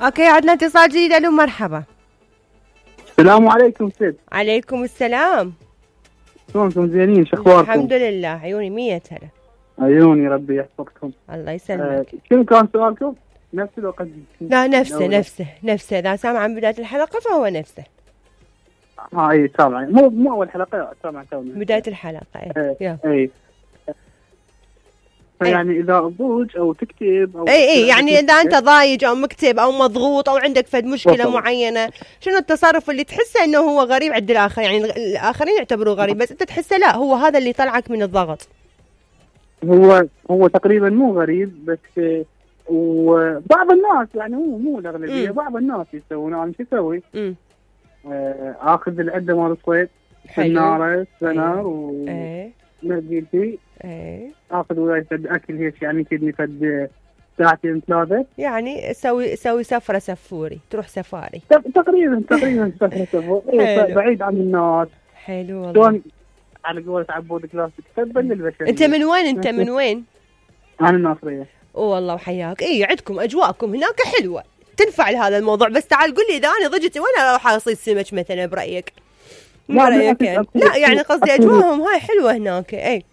اوكي عندنا اتصال جديد. الو مرحبا. السلام عليكم سيد. عليكم السلام. شلونكم زينين؟ شو اخباركم؟ الحمد لله. عيوني 100 هلا. عيوني ربي يحفظكم. الله يسلمك. شنو كان سؤالكم؟ نفسه لو قد لا نفسه اذا سامع عن بداية الحلقة فهو نفسه. اي سامع، مو اول حلقة، سامع تونا بداية الحلقة. اي يعني اذا تضوج او تكتب او اي يعني اذا انت ضايج او مكتب او مضغوط او عندك فد مشكله معينه، شنو التصرف اللي تحسه انه هو غريب عند الاخر؟ يعني الاخرين يعتبروه غريب بس انت تحسه لا هو هذا اللي طلعك من الضغط. هو تقريبا مو غريب، بس وبعض الناس يعني مو الاغلبيه، بعض الناس يسوون. انا شو اسوي؟ اخذ العده مال الصيد، سناره سنار ومرجيتي، اخذ وياي فد اكل هيك يعني كدني فد ساعتين ثلاثه، يعني سوي سفره سفوري، تروح سفاري تقريبا سفره سفوري بعيد عن الناس. حلو والله. شلون على قولة عبود كلاسيك تبا للبشريه. انت من وين؟ انا الناصريه. والله وحياك. عندكم اجواءكم هناك حلوه تنفع لهذا الموضوع، بس تعال قل لي اذا انا ضجت وين اروح اصيد سمك مثلا برايك؟ برايك يعني. لا يعني قصدي اجواءهم هاي حلوه هناك.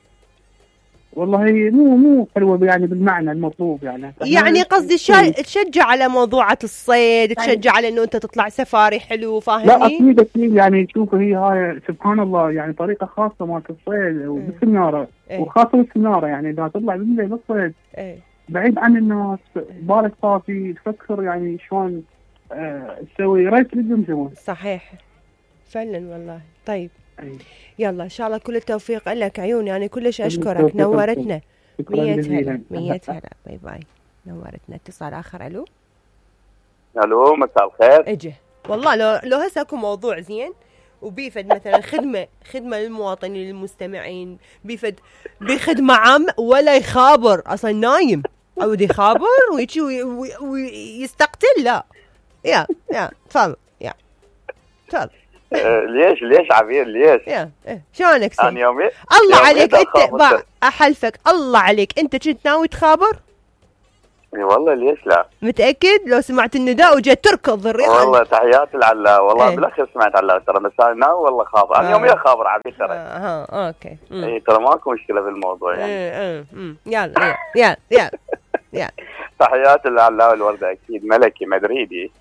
والله مو حلوه يعني بالمعنى المطلوب يعني قصدي تشجع على موضوعة الصيد، تشجع على انه انت تطلع سفاري حلو، فاهمني؟ لا اكيد يعني شوفوا هي هاي سبحان الله يعني طريقه خاصه مالت الصيد وبالسناره وخاصه بالسناره، يعني اذا تطلع بالليل بالصيد بعيد عن الناس، بالك صافي، تفكر يعني شلون تسوي ريت للجمجمه. صحيح فعلا والله. طيب يلا ان شاء الله كل التوفيق لك. عيوني يعني كلش اشكرك، نورتنا. 100 هلا. باي باي. نورتنا. اتصال اخر. الو مساء الخير. اجي والله لو هسه اكو موضوع زين وبيفد مثلا خدمه للمواطنين المستمعين، بخدمه عامه ولا يخابر اصلا نايم او يخابر ويجي ويستقتل. لا يا تفضل تفضل. ليش عبير ليش؟ شلونك سيد؟ انا يومي الله عليك انت احلفك الله عليك انت كنت ناوي تخابر؟ اي والله ليش لا؟ متاكد؟ لو سمعت النداء وجيت تركض الريال. والله تحياتي لعلاء والله بالاخير سمعت علاء ترى، بس انا ناوي والله خابر. انا يوميا خابر عبير ترى. اوكي. اي ترى ماكو مشكله بالموضوع يعني. يلا تحياتي لعلاء والورده اكيد ملكي مدريدي.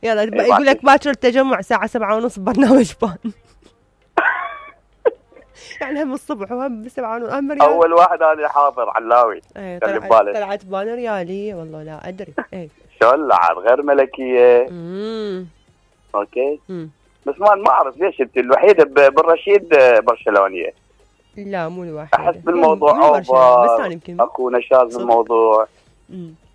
يلا يقول لك باكر التجمع الساعه 7:30 برنامج بان. يعني هم الصبح وهم 7:30 هم ريال. اول واحد انا حاضر علاوي. طلعت بان رياليه والله لا ادري. شلون لعب غير ملكيه. اوكي. بس ما اعرف ليش انت الوحيده بالرشيد برشلونيه. لا مو الوحيده. احس بالموضوع اوفر، اكو نشاز بالموضوع.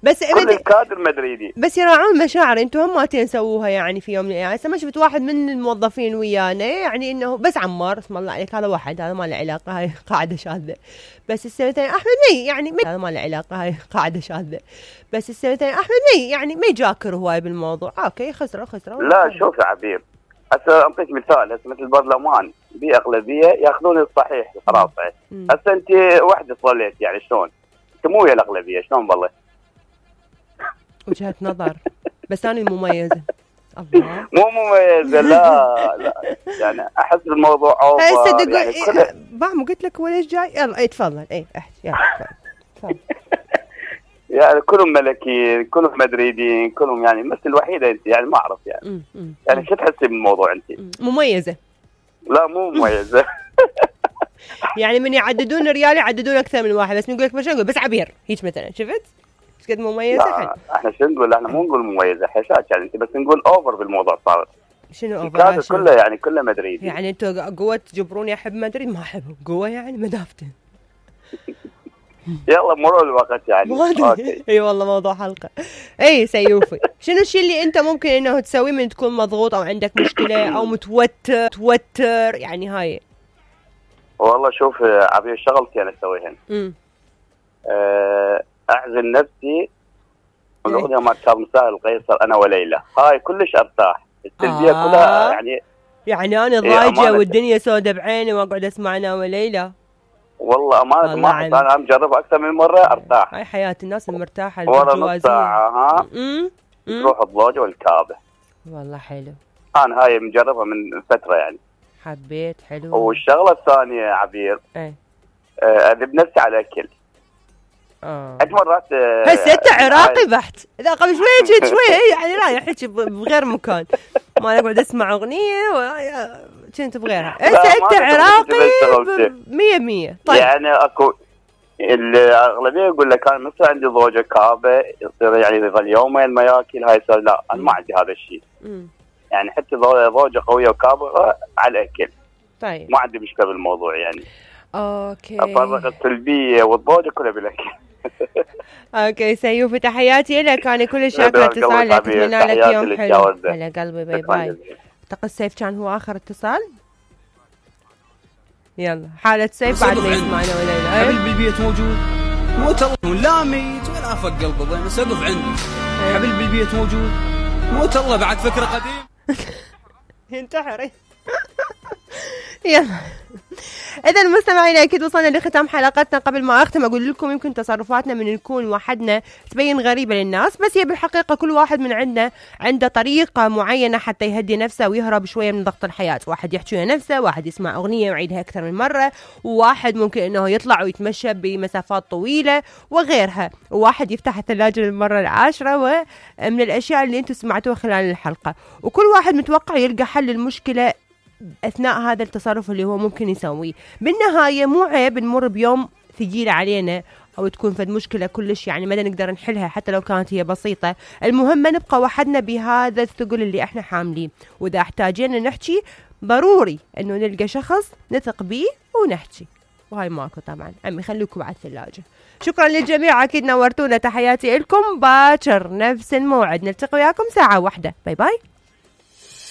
بس كل الكادر مدريدي بس يراعون مشاعر. انتم هماتين سووها يعني في يوم من الايام. هسه ما شفت واحد من الموظفين ويانا يعني انه بس عمار اسم الله عليك، هذا واحد هذا ما له علاقه، هاي قاعده شاذه. بس السنتين احمد هذا ما له علاقه، هاي قاعده شاذه. بس السنتين احمد يعني ما يجاكر هواي بالموضوع. اوكي خسروا. لا شوف يا عبير، هسه اعطيك مثال. هسه مثل البرلمان باغلبيه ياخذون الصحيح خلاص. هسه انت وحده صليت يعني شلون؟ انت مو ويا الاغلبيه شلون بالله؟ وجهة نظر بس أنا المميزة. الله مو مميزة لا يعني أحس بالموضوع أوفر. يعني بعمو قلت لك هو ليش جاي. يلا تفضل. احكي يلا تفضل. يعني كلهم ملكيين كلهم مدريدين كلهم يعني مثل الوحيدة أنت يعني ما أعرف يعني. يعني شو تحسي بالموضوع أنت؟ مميزة. لا مو مميزة. يعني من يعددون ريال يعددون أكثر من واحد، بس نقول لك مش نقول بس عبير هيك مثلا شفت؟ قد مميزة. احنا شو نقول؟ احنا مو نقول مميزة حشاش يعني انت، بس نقول اوفر بالموضوع صار. شنو اوفر؟ كله يعني كله مدريد. يعني انتوا قوة تجبروني احب مدريد؟ ما احبه قوة يعني مدافتن. يلا مرور الوقت يعني. اي والله موضوع حلقة. سيوفي شنو الشيء اللي انت ممكن انه تسويه من تكون مضغوط او عندك مشكلة او متوتر يعني هاي؟ والله شوف عبير شغلتي انا اسويهن. اعزل نفسي والاغنيه مال كاظم ساهر القيصر انا وليلى، هاي كلش ارتاح. التلبيه كلها يعني انا ضايجه والدنيا سودة بعيني واقعد اسمع انا وليلى. والله امانه ما انا مجربها اكثر من مره ارتاح. هاي حياه الناس المرتاحه ورا نص ساعه. تروح الضوجة والكابة. والله حلو. انا هاي مجربها من فترة يعني. حبيت. حلو. والشغلة الثانية عبير، اذب نفسي على الاكل. عد مرات هسه انت عراقي بحت، اذا قبل شويه شويه يعني رايح هيك بغير مكان، ما اقعد اسمع اغنيه كنت بغيرها. هسه انت عراقي 100%. طيب يعني اكو الاغلبيه يقول لك انا مثلا عندي زوجه كابه يصير يعني يظل يومين ما ياكل، هاي صار لا انا ما عندي هذا الشيء. يعني حتى زوجه قويه وكابه على الاكل. طيب ما عندي مشكله بالموضوع يعني. اوكي. افرغ السلبيه والضوجه كلها بالاكل. اوكي سيوف، تحياتي لك، انا كل شاكره اتصالك، اتمنى لك يوم حلو. على قلبي. باي باي. اعتقد سيف كان هو اخر اتصال. يلا حالة سيف بعد ما يسمعنا ولا لا. حبيب بالبيت موجود موت الله، لا ميت ولا افق قلبه ضينا سقف عندي. حبيب بالبيت موجود موت الله، بعد فكرة قديم. ينتحر. يلا إذا المستمعين أكيد وصلنا لختام حلقتنا. قبل ما أختم أقول لكم يمكن تصرفاتنا من نكون وحدنا تبين غريبة للناس، بس هي بالحقيقة كل واحد من عندنا عنده طريقة معينة حتى يهدي نفسه ويهرب شوية من ضغط الحياة. واحد يحكي ويا نفسه، واحد يسمع أغنية ويعيدها أكثر من مرة، وواحد ممكن إنه يطلع ويتمشى بمسافات طويلة وغيرها، وواحد يفتح الثلاجة للمرة العاشرة، ومن الأشياء اللي أنتم سمعتوها خلال الحلقة. وكل واحد متوقع يلقى حل للمشكلة أثناء هذا التصرف اللي هو ممكن يسويه. بالنهاية مو عيب نمر بيوم ثقيل علينا أو تكون فد مشكلة كلش يعني ما نقدر نحلها حتى لو كانت هي بسيطة، المهم نبقى وحدنا بهذا الثقل اللي احنا حاملين، وإذا احتاجينا نحكي ضروري أنه نلقى شخص نثق بيه ونحكي، وهاي ماكو طبعا. عمي خليكم على الثلاجة. شكرا للجميع، أكيد نورتونا. تحياتي لكم. باكر نفس الموعد نلتقي وياكم 1:00. باي باي.